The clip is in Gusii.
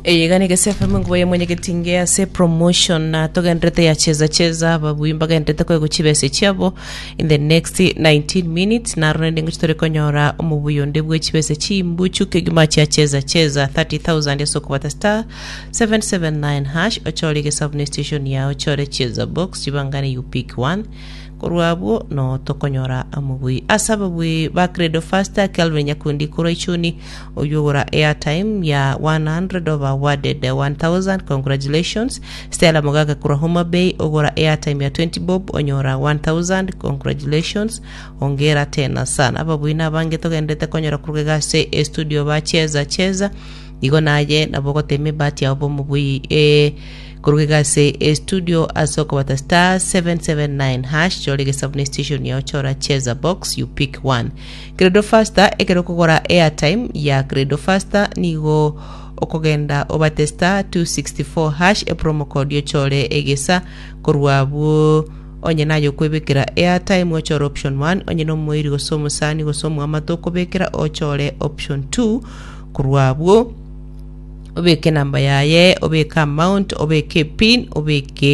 Eye iga negese FM enkuba ya mwenyegetinge ase promotion na togenderete ya cheza cheza ababui mbagenderete koegwa chibesa chiabo in the next 19 minutes naro naende ngochi tore konyora omobuya onde bwe chibesa chimbuchu kegima chia cheza cheza 30000 ase okobata star 779 hash ochore egesabu ne station yao ochore cheza box chibangane you pick one Korwa abwo noo tokonyora amobui. Ase ababui ba Credo Faster, Kelvin Nyakundi korwa Ichuni, oyio ogora airtime ya 100 oba awarded 1000, congratulations. Stella Mogaka korwa Homa Bay ogora airtime ya 20 bob onyora 1000, congratulations. Hongera tena sana. Ababui nabange togenderete konyora korwa iga ase estudio ba Cheza Cheza. Igo naye nabo ogotema ebahati yao bomobui eh, Korwa iga ase estudio ase okobata star 779 hash chora egesabu ne station yao chora cheza box you pick one. Credo faster ekero okogora airtime ya Credo faster nigo okogenda obate star 264 hash epromo code ochore egesa korwa abwo onye naye okwebekera airtime ochore option 1 onye nomoiri gose omosani gose omoamate okobekera ochore option 2 korwa abwo obeke enamba yaye, obeke amount, obeke epin, obeke.